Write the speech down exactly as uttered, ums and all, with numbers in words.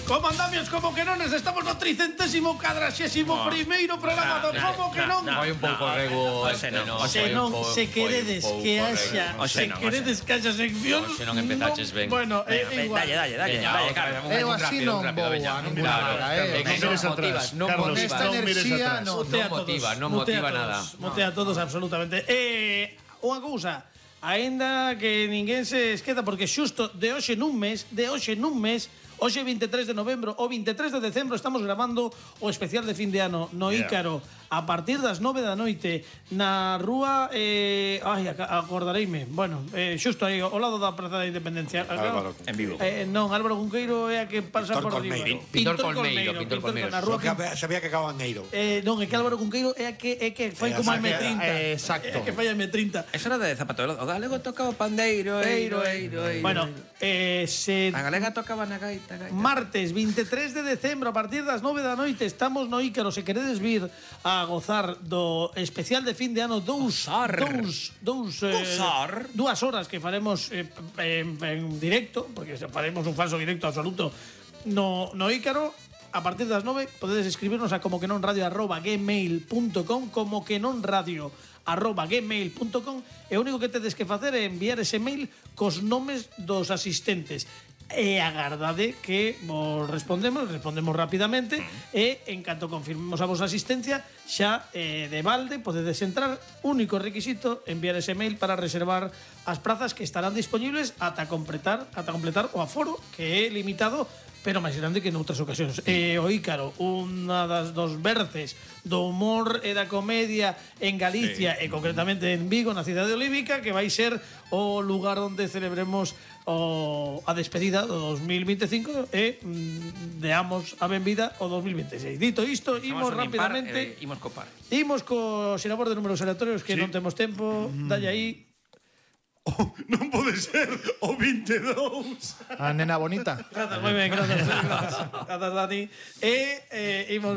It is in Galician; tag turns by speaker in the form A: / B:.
A: Como andamios, como que non, estamos no tricentésimo cadraxésimo
B: No.
A: primeiro programa do
B: No,
A: Como que
B: no,
A: non.
B: no.
C: Foi un pouco rego
B: Hoxe
C: este,
B: non,
C: non.
B: hoxe
A: Se non, se queredes que haxa,
B: Hoxe
A: se
B: non,
A: queredes que haxa sección,
C: Hoxe non empezaches ben.
A: Bueno, é
B: Venga,
A: igual.
B: dalle, dalle, dalle,
C: Veña,
B: dalle,
C: outra,
B: Carlos.
C: un-
D: Eu
C: un
D: así
C: rápido,
D: non
C: un rápido,
D: vou
C: veña.
D: a ninguna
C: Claro,
D: hora,
C: é
D: eh.
C: que
E: Non
C: non
E: mires
C: motivas,
E: atrás,
C: non
E: Carlos,
C: motivas.
D: Esta
E: non mires
D: enerxía
E: atrás.
D: non.
A: Motea
C: Non motiva,
A: todos,
C: non
A: motea
C: motiva
A: todos,
C: nada.
A: Motea a todos absolutamente. Eh, unha cousa, aínda que ninguén se esqueza porque xusto de hoxe nun mes, de hoxe nun mes, hoxe veintitrés de novembro o veintitrés de decembro estamos grabando o especial de fin de ano no
E: Yeah.
A: Ícaro a partir das nove da noite na rúa eh, ai, ac- acordareime. Bueno, eh, xusto aí ao lado da Praza da Independencia.
E: Álvaro
B: En vivo.
A: Eh, non, Álvaro Cunqueiro é a que pasa
F: Pintor
A: por riba.
F: Colmeiro.
C: Pintor Colmeiro, Pintor Colmeiro.
A: Na rúa
F: Porque sabía que acababa en Eiro.
A: Eh, non, é que Álvaro Cunqueiro é a que é que fai
F: Eh,
A: como a
F: exacto,
A: M trinta.
D: eh, exacto.
A: É que fai a M trinta.
B: Eso era de Zapatero. O galego tocaba o pandeiro, eiro, eiro, eiro.
A: Bueno, eh, se
B: A galega tocaba na gaita, gaita.
A: martes veintitrés de decembro a partir das nove da noite estamos no Ícaro, se queredes vir a gozar do especial de fin de ano dous
B: Gozar.
A: dous dous eh,
B: Gozar.
A: dúas horas que faremos eh, en, en directo, porque se faremos un falso directo absoluto no no Ícaro. A partir das nove podedes escribirnos a como que non radio arroba gmail punto com, como que non radio arroba gmail punto com, e o único que tedes que facer é enviar ese mail cos nomes dos asistentes e agardade que vos respondemos, respondemos rapidamente e en canto confirmemos a vosa asistencia xa eh, de balde podedes entrar, único requisito enviar ese mail para reservar as prazas que estarán disponibles ata completar ata completar o aforo que é limitado pero máis grande que noutras ocasións. E o Ícaro, unha das dos berces do humor e da comedia en Galicia sí. e concretamente en Vigo, na cidade olívica, que vai ser o lugar onde celebremos o, a despedida do dos mil veinticinco e mm, deamos a benvida ao dos mil veintiséis. Dito isto, imos
B: Somos un impar,
A: rapidamente
B: eh, imos copar.
A: imos co sinabor de números aleatorios que
E: Sí.
A: non temos tempo. Dalle aí.
E: Non pode ser o veintidós.
D: A nena bonita.
A: Grazas, moi ben, grazas. Grazas, Dani. E eh, imos